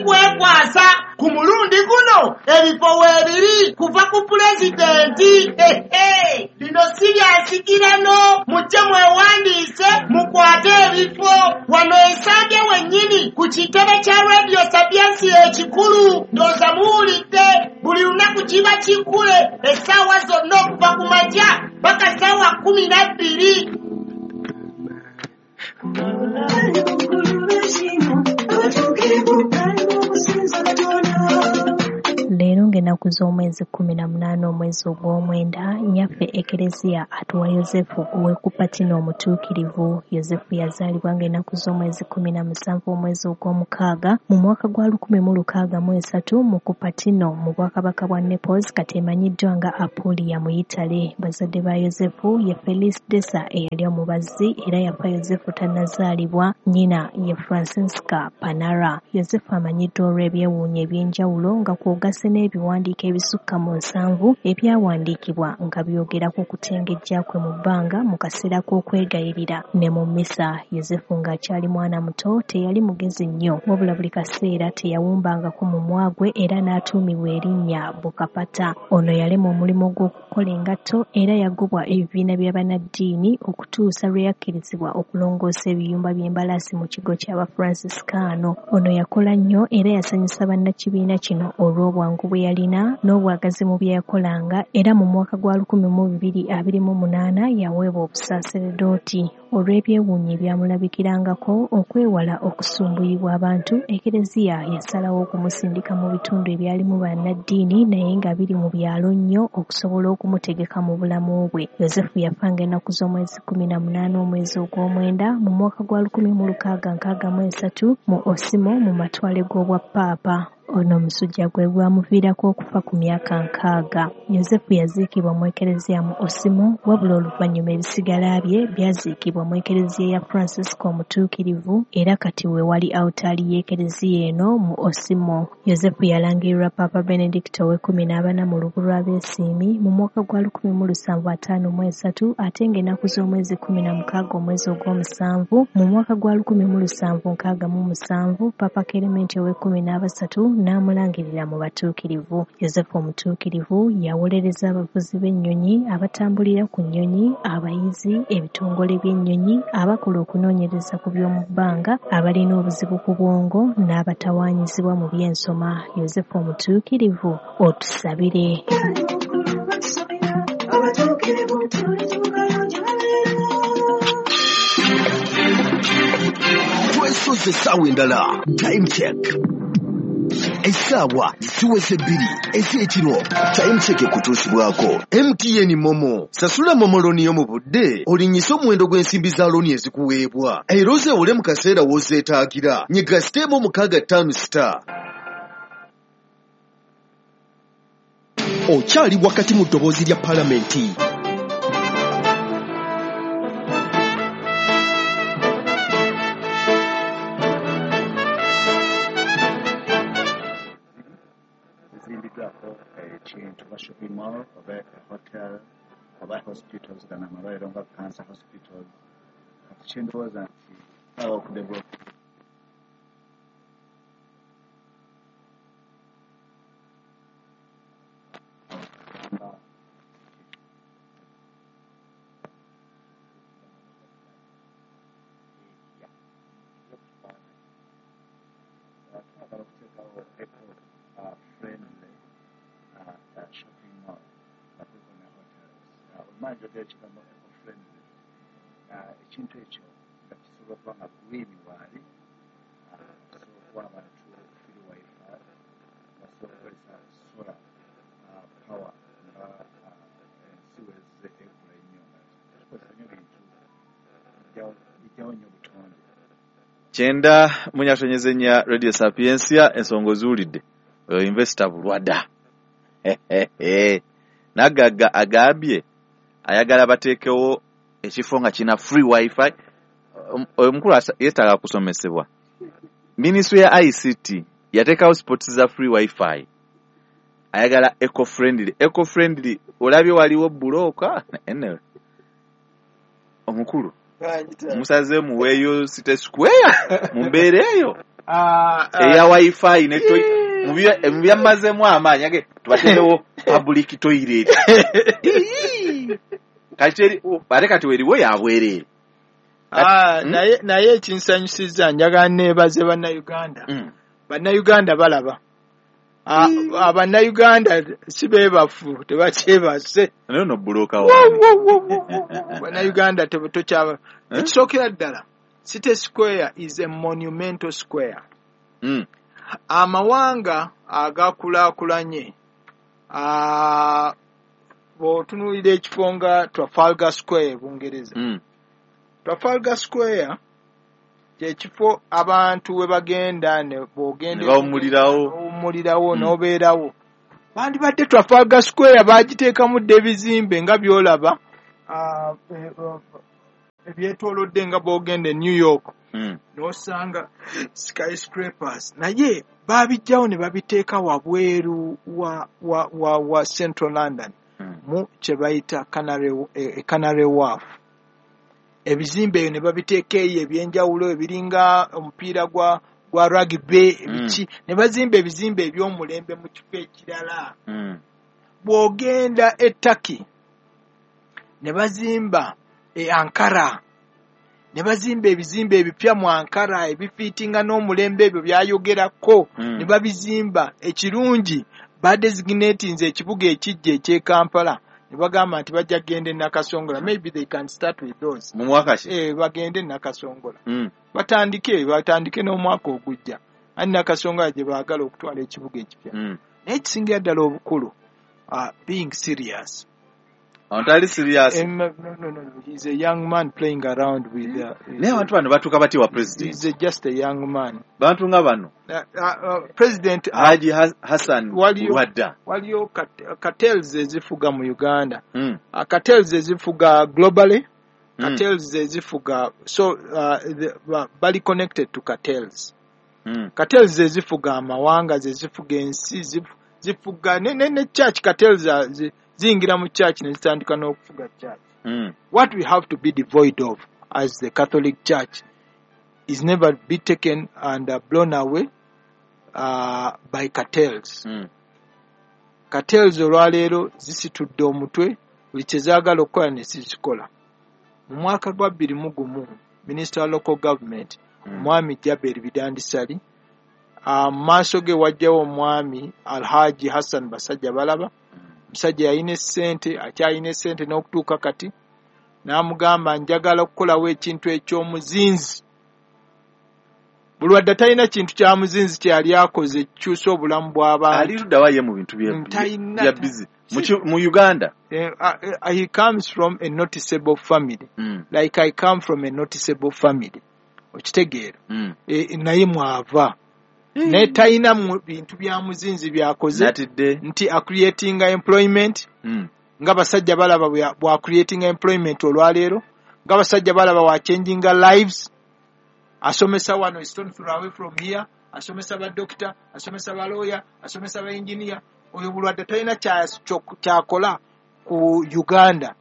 Kwekwasa ku mulundi guno ebifo weebiri kuva ku pulezidenti. Bino si bya nsikirano, mujje mwewandiise mukwate ebifo. Wano Ensambya wennyini ku kitebe kya Radio Sapientia ekikulu. Ndowooza muwulidde, buli lunaku kiba kikule essaawa zonna okuva ku makya paka ssaawa 12. Leero ng'ennaku z'omwezi 18 omwezi ogw'omwenda, nnyaffe Ekereziya atuwa Yozefu ow'e Kupatino omutuukirivu. Yozefu yazaalibwa ng'ennaku z'omwezi 17 omwezi ogw'omukaaga mu mwaka gwa 1663 mu Kupatino mu bwakabaka bwa Naples, kati emanyiddwa nga Apulia mu Yitale. Bazadde ba Yozefu ye Felice Desa eyali omubazzi era yafa Yozefu tannazaalibwa, nnyina ye Francesca Panara. Yozefu amanyiddwa olw'ebyewuunyo eby'enjawulo nga kw'ogasse n'ebiwandiiko ebisukka mu 70 ebyawandiikibwa nga byogera ku kutengejja kwe mu bbanga mu kaseera k'okwegayirira ne mu mmisa. Yozefu ng'akyali mwana muto teyali mugezi nnyo, wabula buli kaseera teyawumbangako mumwa gwe era n'atuumibwa erinnya Bukapata. Ono yalema omulimu gw'okukola engatto era yagobwa ebibiina bya bannaddiini okutuusa lwe yakkirizibwa okulongoosa ebiyumba by'embalaasi mu kigo ky'Abafransiskaano. Ono yakola nnyo era yasanyusa bannakibiina kino olw'obwangu bwe yalina n'obwagazi mu bye yakolanga, era mu mwaka gwa 1228 yaweebwa obusaaseredooti. Olw'ebyewuunyo ebyamulabikirangako okwewala okusumbuyibwa abantu, Ekereziya yasalawo okumusindika mu bitundu ebyalimu bannaddiini naye nga biri mu byalo nnyo okusobola okumutegeka mu bulamu bwe. Yozefu yafa ng'ennaku z'omwezi 18 omwezi ogw'omwenda mu mwaka gwa 1663 mu Osimo mu matwale g'obwapaapa. Ono omusujja gwe gwamuviirako okufa ku myaka 60. Yozefu yaziikibwa mu Ekereziya mu Osimo, wabula oluvannyuma ebisigala bye byaziikibwa mu Ekereziya ya Francisco omutuukirivu era kati we wali awutaali y'Ekereziya eno mu Osimo. Yozefu yalangirirwa Paapa Benedicto ow'e14 mu lubu lw'Abeesiimi mu mwaka gwa 1753 ate ng'ennaku z'omwezi 16 omwezi ogw'omusanvu mu mwaka gwa 1767 Paapa Kelementi ow'e13 n'amulangirira mu batuukirivu. Yozefu omutuukirivu yawolereza abavuzi b'ennyonyi, abatambulira ku nnyonyi, abayizi, ebitongole by'ennyonyi, abakola okunoonyereza ku by'omu bbanga, abalina obuzibu ku bwongo n'abatawaanyizibwa mu by'ensoma. Yozefu omutuukirivu, otusabire. Twesoze essaawa endala. Time check. Essaawa ziweze 2 ez'ekiro. Time check ekutuusibwako MTN Momo. Sasula Momo looni yo mu budde, olinnyise omuwendo gw'ensimbi za looni ezikuweebwa, era ozeewole mu kaseera w'ozeetaagira. Nyiga *656*. Okyali wakati mu ddoboozi lya Palamenti. Ekintu oba shopping mall oba hotel oba hospitals gano amalwaliro nga cancer hospitals. Kati kyendowooza nti aba okudevelop twagala okuteekawo eco friendly shopping mall nga kuliko ne hotels. Olumala njogera ekigambo eco friendly, ekintu ekyo nga kisobola okuba nga green waali, kisobola okuwa abantu free wifi, basobola okukozesa solar power nga ensi wezze ekula ennyo nga tetukozesa nnyo bintu bijjawo nnyo obutonde. 94.4 Radio Sapientia, ensonga oziwulidde. Oyo investor Bulwada Nagagga agambye ayagala bateekewo ekifo nga kina free wifi. Oyo omukulu yeetaaga kusomesebwa. Ministry ya ICT yateekawo spots za free wifi. Ayagala eco friendly. Eco friendly olabye waliwo bulooka. Anyway, omukulu musaze muweeyo City Square mu mbeera eyo. Eya wifi ne mu byammazeemu amaanyi age tubateerewo public toilet. Kati ate kati weriwo yabwereere. Naye ekinsanyusizza njagala neebaze Bannayuganda. Bannayuganda balaba. Abannayuganda si beebafu, tebakyebase. Naye ono bbulooka wange. Bannayuganda tokyaba. Ekisookera ddala, City Square is a monumental square. Amawanga agakulaakulanye, bw'otunuulira ekifo nga Trafalgar Square e Bungereza. Trafalgar Square kyekifo abantu we bagenda ne bw'ogenda ne bawummulirawo n'obeerawo. Bandibadde Trafalgar Square baagiteekamu dda ebizimbe nga by'olaba ebyetoolodde nga bw'ogenda e New York n'osanga skyscrapers, naye baabijjawo ne babiteeka wabweru wa Central London mu kye bayita Canary Wharf. Ebizimbe ebyo ne babiteeka eyo ebyenjawulo ebiringa omupiira gwa rugby ebiki, ne bazimba ebizimbe eby'omulembe mu kifo ekirala. Bw'ogenda e Turkey ne bazimba e Ankara, ne bazimba ebizimbe ebipya mu Ankara ebifiitinga n'omulembe ebyo byayogerako, ne babizimba. Ekirungi badesignatinze ekibuga ekijja eky'e Kampala ne bagamba nti bajja kugenda e Nakasongola. Maybe they can start with those. Mu mwaka ki? Bagende e Nakasongola. Batandike n'omwaka ogujja. Ani Nakasongola gye baagala okutwala ekibuga ekipya. Naye ekisingira ddala obukulu, being serious. Antali serious. No. He's a young man playing around with. Naye abantu bano batuuka batya wa president? He's just a young man. Bantu nga bano. President Haji Hassan Bulwadda. Waliyo cartels ezifuga mu Uganda. Cartels ezifuga globally. Cartels ezifuga, so bali connected to cartels. Cartels ezifuga amawanga, zezifuga ensi, zifuga ne church. Cartels ziyingira mu church ne zitandika n'okufuga church. What we have to be devoid of as the Catholic Church is never be taken and blown away by cartels. Cartels olwaleero zisitudde omutwe, buli kye zaagala okukola ne zikikola. Mu mwaka gwa 2001, Minister wa Local Government, Omwami Jaberi Bidandisali, mu maaso ge wajjawo Omwami Alhaji Hassan Basajja Balaba. Musajja yalina essente, akyalina essente n'okutuuka kati, n'amugamba njagala okukolawo ekintu eky'omuzinzi. Bulwadda talina kintu kya muzinzi kye yali akoze ekikyusa obulamu bw'abantu. Ali ludda wa ye mu bintu bya busy mu Uganda? He comes from a noticeable family. Like I come from a noticeable family. Okitegeera? Naye mwava. Naye talina bintu bya muzinzi byakoze nti acreating employment, nga basajja balaba bwa creating employment olwaleero, nga basajja balaba wa changing lives. Asomesa wano stone throw away from here, asomesa ba doctor, asomesa ba lawyer, asomesa ba engineer. Oyo Bulwadde talina kyakola ku Uganda.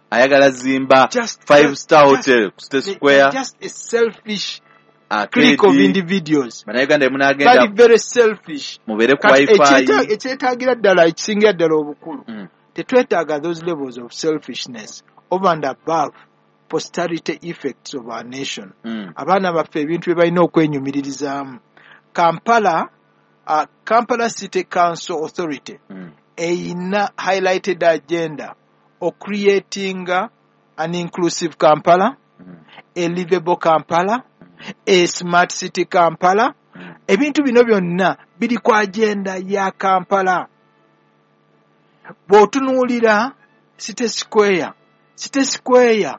Ayagala zimba 5-star hotel ku State Square. Just a selfish clique of individuals. Bannayuganda munaagenda bali very selfish. Mubeere ku wifi. Ekyetaagira ddala, ekisingira ddala obukulu, tetwetaaga those levels of selfishness over and above posterity effects of our nation. Abaana baffe ebintu bye balina okwenyumiririzaamu. Kampala City Council Authority eyina highlighted agenda o creating an inclusive Kampala, a livable Kampala, a smart city Kampala. Ebintu bino byonna biri ku agenda ya Kampala. Bw'otunuulira City Square, City Square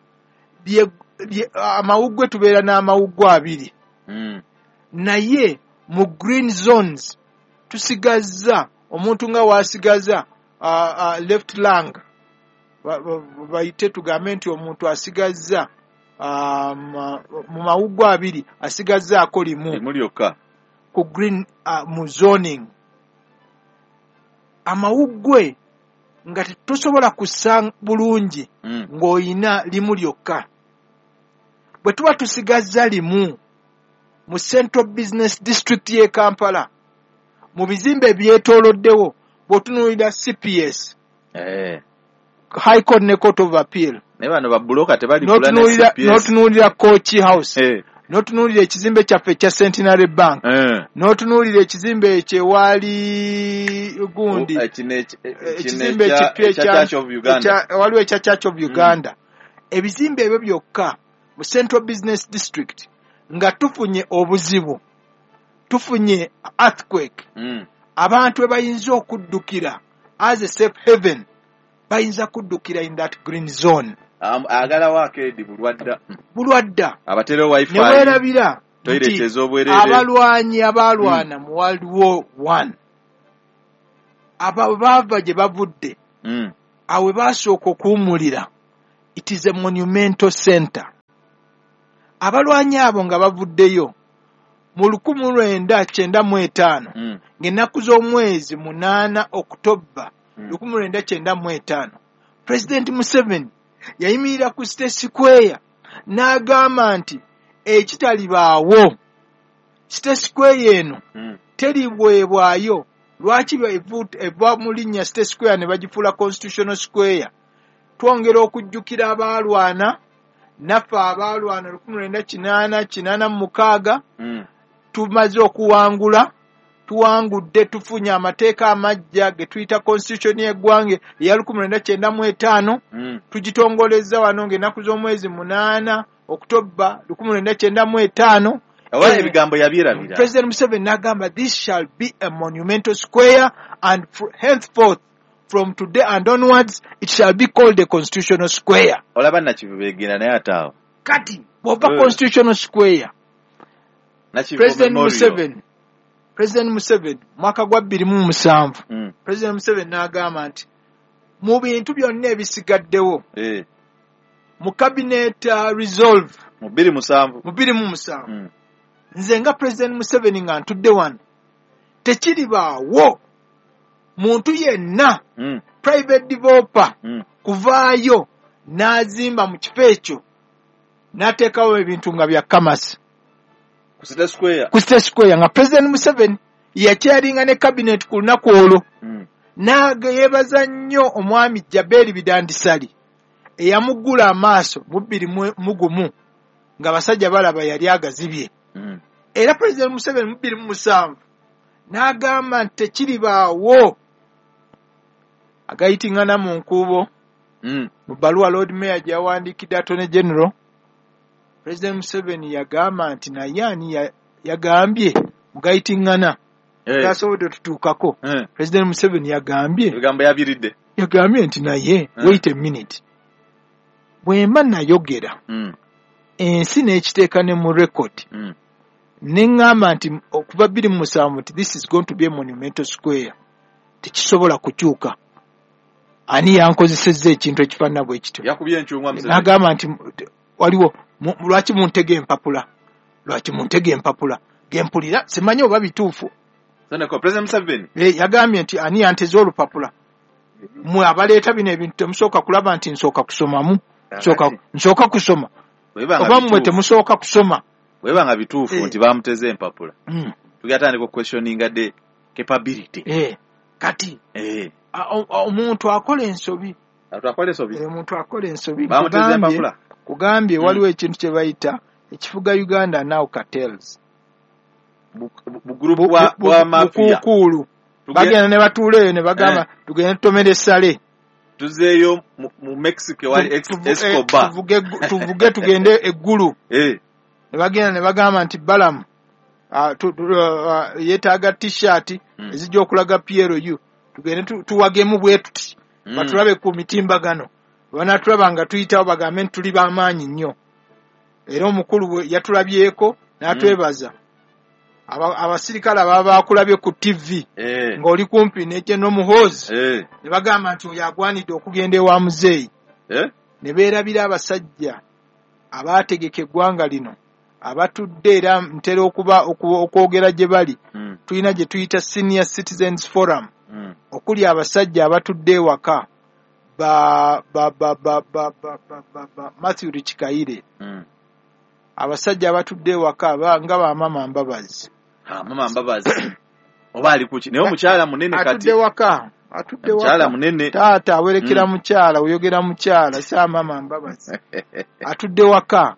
amawuggwe tubeera n'amawuggwe abiri. Naye mu green zones tusigazza omuntu nga wasigaza left lung, bayite tugambe nti omuntu asigazza mu mawuggwe abiri asigazzaako limu lyokka ku green mu zoning. Amawuggwe nga tosobola kussa bulungi ng'oyina limu lyokka. Bwe tuba tusigazza limu Mu Central Business District y'e Kampala, mu bizimbe ebyetooloddewo, bw'otunuulira CPS, High Court ne Court of Appeal, Naye bano babuloka tebaligula ne CPS. N'otunuulira Kooki House, n'otunuulira ekizimbe kyaffe ekya Centenary Bank, n'otunuulira ekizimbe ekyo ewaali gundi, ekizimbe ekipya ekya Church of Uganda. Waliwo ekya Church of Uganda. Ebizimbe ebyo byokka mu Central Business District, nga tufunye obuzibu, tufunye earthquake, abantu we bayinza okuddukira as a safe haven, bayinza kuddukira in that green zone. Agalawo arcade Bulwadda. Bulwadda. Abateerewo wifi. Ne weerabira toilet nti ez'obwereere. Abalwanyi abalwana mu World War One, abo baava gye bavudde, awe basooka okuwummulira. It is a monumental center. Abalwanyi abo nga bavuddeyo mu 1995, ng'ennaku z'omwezi 8 Okutoba 1995, President Museveni yayimirira ku State Square n'agamba nti ekitalibaawo, State Square eno teriweebwayo. Lwaki eva mu linnya State Square ne bagifuula Constitutional Square? Twongera okujjukira abaalwana naffe, abaalwana 1986. Tumaze okuwangula, tuwangudde, tufunye amateeka amajja ge tuyita constitution y'eggwanga eya 1995. Tugitongolezza wano ng'ennaku z'omwezi 8 Okutoba 1995. Oba ebigambo yabyerabira. President Museveni n'agamba, "This shall be a monumental square, and henceforth, from today and onwards, it shall be called a constitutional square." Olaba Nakivu begenda naye ate awo. Kati bw'ova Constitutional Square, Nakivubo President Memorial. Museveni, President Museveni, mwaka gwa 2007, President Museveni n'agamba nti mu bintu byonna ebisigaddewo, mu cabinet resolve, Mu 2007. Mu 2007, nze nga President Museveni nga ntudde wano, tekiribaawo muntu yenna, private developer, kuvaayo n'azimba mu kifo ekyo n'ateekawo ebintu nga bya commerce. Ku City Square. Ku State Square, nga President Museveni yakyalinga ne cabinet ku lunaku olwo. Yeebaza nnyo omwami Jaberi Bidandisali eyamuggula amaaso mu 2001 nga basajja balaba yali agazibye. Era President Museveni mu 2007 n'agamba nti tekiribaawo agayitingana mu nkuubo. Mu bbaluwa Lord Mayor gye yawandiikidde Attorney General, President Museveni yagamba nti naye ani yagambye mugayitingana tasobodde tutuukako. President Museveni yagambye, Ebigambo yabiridde. yagambye nti naye, wait a minute, bwe mba nayogera, ensi n'ekiteeka ne mu record, ne ŋŋamba nti okuva 2007 nti this is going to be a monumental square, tekisobola kukyuka, ani yankozesezza ekintu ekifaanana bwe kityo? Yakubye enkyungwa Museveni. N'agamba nti waliwo lwaki muntega empapula, lwaki muntega empapula gempulira simanyi oba bituufu? Seneko President Museveni. Yagambye nti ani yanteze olupapula? Mmwe abaleeta bino ebintu temusooka kulaba nti nsooka kusomamu, nsooka kusoma, Bweba nga oba mmwe bituufu. temusooka kusoma? Bweba nga bituufu nti bamuteze empapula, tugenda tandika okuquestioninga the capability. Kati omuntu akola ensobi. Atwakola ensobi. Omuntu akola ensobi. Bamuteze empapula. Kugambye waliwo ekintu kye bayita ekifuga Uganda now, cartels. Bugroup bwa mafia. Bukuukuulu. Bagenda ne batuula eyo ne bagamba, tugende tutomere essale. Tuzeeyo mu Mexico wali Escobar. Tuvuge tugende eggulu. Ne bagenda ne bagamba nti Balamu yeetaaga T-shirt ezijja okulaga PLU, tugende tuwagemu bwe tuti, batulabe ku mitimbagano, banatulaba nga tuyitawo bagambe nti tuli b'amaanyi nnyo. Era omukulu bwe yatulabyeko n'atwebaza. Abasirikale ababa bakulabye ku TV ng'oli kumpi ne General Muhoozi, ne bagamba nti oyo agwanidde okugenda ewa muzeeyi. Ne beerabira abasajja abaategeka eggwanga lino abatudde, era ntera okuba okwogera gye bali. Tulina gye tuyita Senior Citizens Forum, okuli abasajja abatudde ewaka, ba ba ba ba ba ba ba ba, ba Matthew Kikaire, Abasajja abatudde ewaka nga bamama Mbabazi. Mama Mbabazi oba ali kuki? Naye omukyala munene kati atudde waka, atudde waka munene. Taata awerekera mukyala, oyogera mukyala, sa mama Mbabazi atudde waka.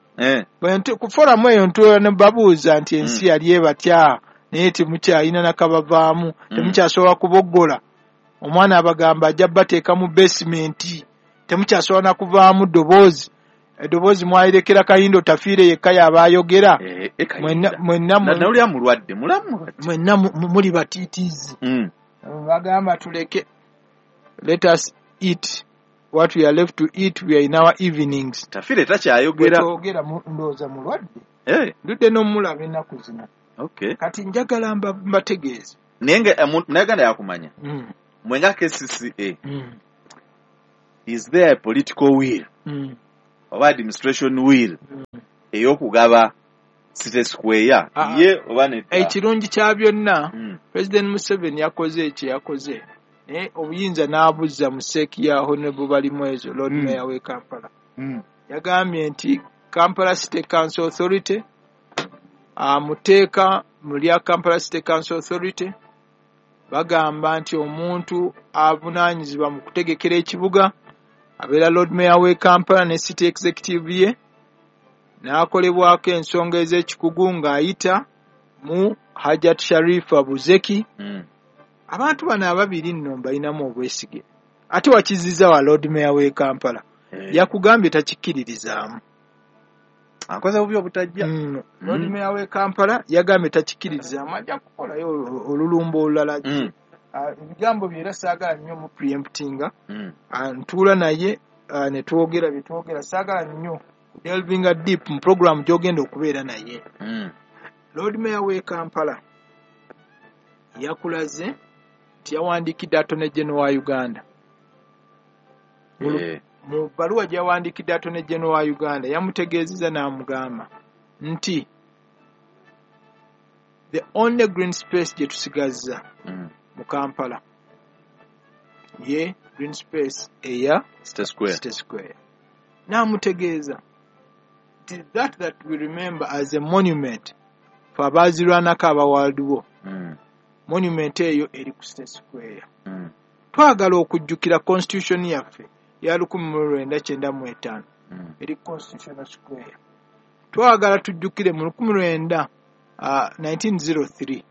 Ku foramu eyo ntuula ne babuuza nti ensi yali ebatya, naye temukyalina nakabavaamu, temukyasobola kuboggola. Omwana abagamba ajja bateeka mu basement, temukyasobola na kuvaamu ddoboozi. Eddoboozi mwayirekera Kayindo Tafiire yekka y'aba ayogera. Mwenna muli batiitiizi. Bagamba tuleke, let us eat what we are left to eat, we are in our evenings. Tafiire takyayogera. Bwetwogera ndowooza mulwadde. Ndudde n'omulaba ennaku zino. Kati njagala mbategeeze. Naye nga Munnayuganda yakumanya. Mwenga KCCA. Is there a political will? Oba administration will ey'okugaba City Square ye oba nedda? Ekirungi kya byonna, President Museveni yakoze ekyo yakoze, naye obuyinza n'abuzza mu seeki ya Honorable Balimwezo, Lord Mayor w'e Kampala. Yagambye nti Kampala City Council Authority, mu tteeka mu lya Kampala City Council Authority bagamba nti omuntu avunaanyizibwa mu kutegekera ekibuga abeera Lord Mayor w'e Kampala ne City Executive ye, n'akolebwako ensonga ez'ekikugu ng'ayita mu Hajat Sharifa Buzeki. Abantu bano ababiri nno mbalinamu obwesige. Ate wakiziza wa Lord Mayor w'e Kampala, yakugambye takikkiririzaamu. Akoze bubi obutajja. Lord Mayor w'e Kampala yagambye takikkiririzaamu, ajja kukolayo olulumba olulala. Ebigambo bye era saagala nnyo mu preemptinga. Ntuula naye ne twogera bye twogera, saagala nnyo delvinga deep mu program gy'ogenda okubeera naye. Lord Mayor w'e Kampala yakulaze nti yawandiikidde Attorney General wa Uganda. Mu bbaluwa gye yawandiikidde Attorney General wa Uganda yamutegeezezza n'amugamba nti the only green space gye tusigazza mu Kampala ye green space eya City Square. City Square. N'amutegeeza nti that we remember as a monument for abaazirwanako aba World War. Monument eyo eri ku City Square. Twagala okujjukira constitution yaffe ya 1995 eri Constitutional Square. Twagala tujjukire mu 1903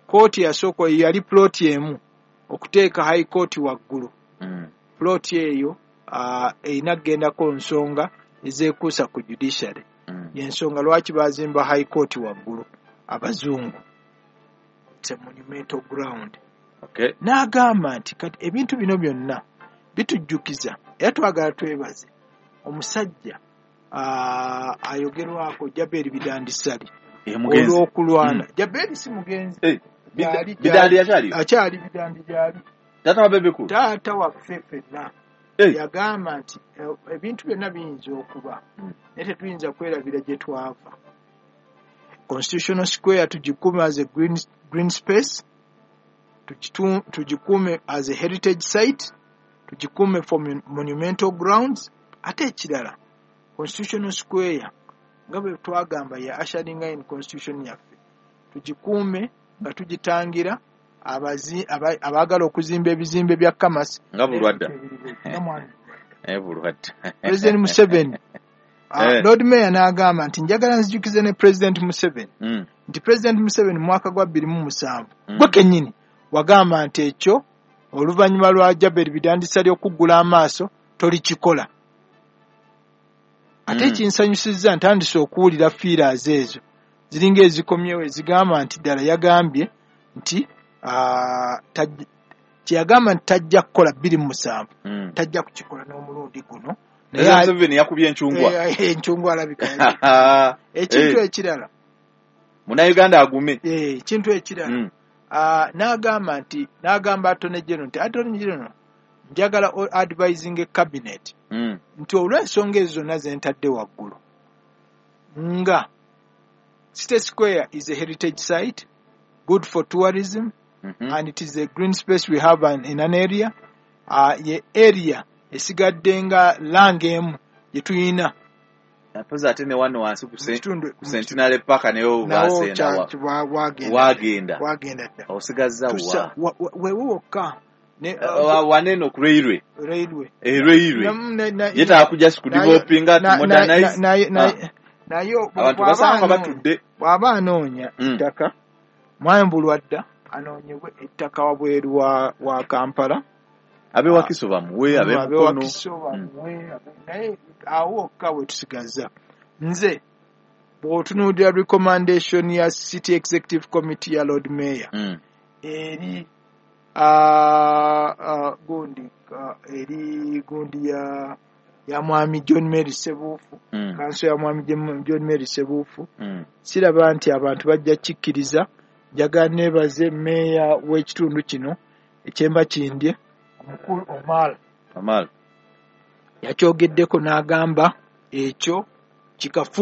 kooti yasooka yali plot emu okuteeka High Court waggulu. Plot eyo erina kugendako nsonga ezeekuusa ku judiciary. Y'ensonga lwaki baazimba High Court waggulu abazungu. It's a monumental ground. N'agamba nti kati ebintu bino byonna bitujjukiza era twagala twebaze omusajja ayogerwako Jaberi Bidandi Ssali olw'okulwana. Jaberi si mugenzi. Bidandi akyali? Akyali Bidandi gyali. Taata wa Bebe Cool? Taata waffe ffenna. Yagamba nti ebintu byonna biyinza okuba naye tetuyinza kwerabira gye twava. Constitutional Square tugikuume as a green space, tugikuume as a heritage site, tugikuume for monumental grounds. Ate ekirala, Constitutional Square nga bwe twagamba ya ushering in constitution yaffe, tugikuume nga tugitangira abaagala okuzimba ebizimbe bya Kamasi nga Bulwadda. President Museveni, Lord Mayor n'agamba nti njagala nzijukize ne President Museveni nti President Museveni mu mwaka gwa 2007 gwe kennyini wagamba nti ekyo oluvannyuma lwa Jaberi Bidandi Ssali okuggula amaaso tolikikola. Ate ekinsanyusizza ntandise okuwulira feelers ezo ziringa ezikomyewo ezigamba nti ddala yagambye nti kyeyagamba nti tajja kukola 2007 tajja kukikola n'omulundi guno. Naye Museveni yakubye enchungwa. Enchungwa alabika. Ekintu ekirala. Munnayuganda agume. Ekintu ekirala. N'agamba nti n'agamba Attorney General nti Attorney General njagala advising a cabinet nti olw'ensonga ezo zonna ze ntadde waggulu nga City Square is a heritage site, good for tourism, and it is a green space we have in an area. Ye area esigadde nga langa emu gye tuyina Mpozi ate ne wano wansi ku Mu kitundu ku Centenary Park nayo nawo basenda wagenda wagenda wagenda dda. Osigazza Tusa wa wewe wokka ne waneno ku railway. Railway. Railway yetaaga kujja sikudevelopinga to modernize. Naye Abantu basanga batudde. Bw'aba anoonya ettaka mwambulwa dda, anoonyebwe ettaka wabweru wa Kampala. Abewakiso bamuwe, abemukono. Abewakiso bamuwe, naye awo wokka we tusigaza. Nze bw'otunuulira recommendation ya City Executive Committee ya Lord Mayor eri gundi eri gundi ya mwami John Mary Sebuufu, kanso ya mwami John Mary Sebuufu, siraba nti abantu bajja kikkiriza. Njagala neebaze meeya w'ekitundu kino ekyemba kindye, omukulu Omar. Omar Yakyogeddeko n'agamba ekyo kikafu.